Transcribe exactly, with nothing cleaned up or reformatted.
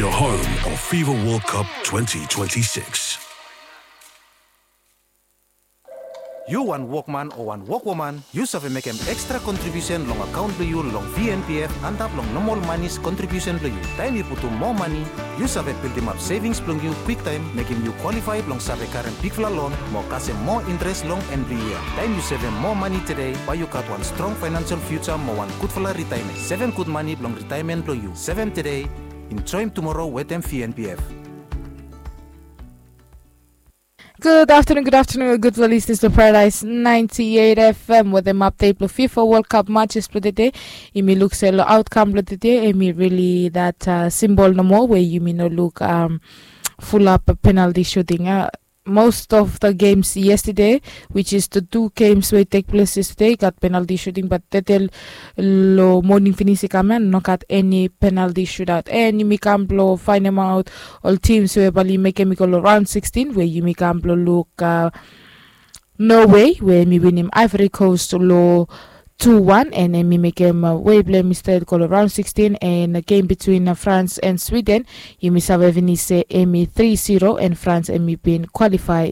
The home of FIFA World Cup twenty twenty-six. Yu wan wokman o wan wokwoman, yu save mekem ekstra kontribiusen long akaon blong yu long V N P F antap long nomol manis kontribiusen blong yu. Taem yu putum moa mani, yu save bildimap sevings blong yu kwiktaem, mekem yu kwalifae blong save karem bigfala lon mo kasem moa intres long en blong yia. Taem yu sevem moa mani tede, bae yu gat wan strong faenansel fiuja mo wan gudfala ritaemen. Sevem gud mani blong ritaemen blong yu. Sevem tede, enjoem tumoro wetem V N P F. Good afternoon, good afternoon, gudfala listeners to Paradise ninety-eight F M wetem update blong FIFA World Cup matches blong tede. Yumi luk se long outcome blong tede, hemi really that uh, simple nomo we yumi no luk um, full up penalty shooting. Uh, most of the games yesterday, which is the two games wey take place yesterday, gat penalty shooting, but tede long morning finis i kam ya, no gat any penalty shootout. And yumi kam blong faenemaot ol teams we bae oli mekem i go long round sixteen, we yumi kam blong luk uh, Norway we hemi winim Ivory Coast long two one, and hemi mekem uh, way blong hemi stret go long round sixteen, and game between uh, France and Sweden, yumi save finis se hemi three zero, and France hemi bin qualify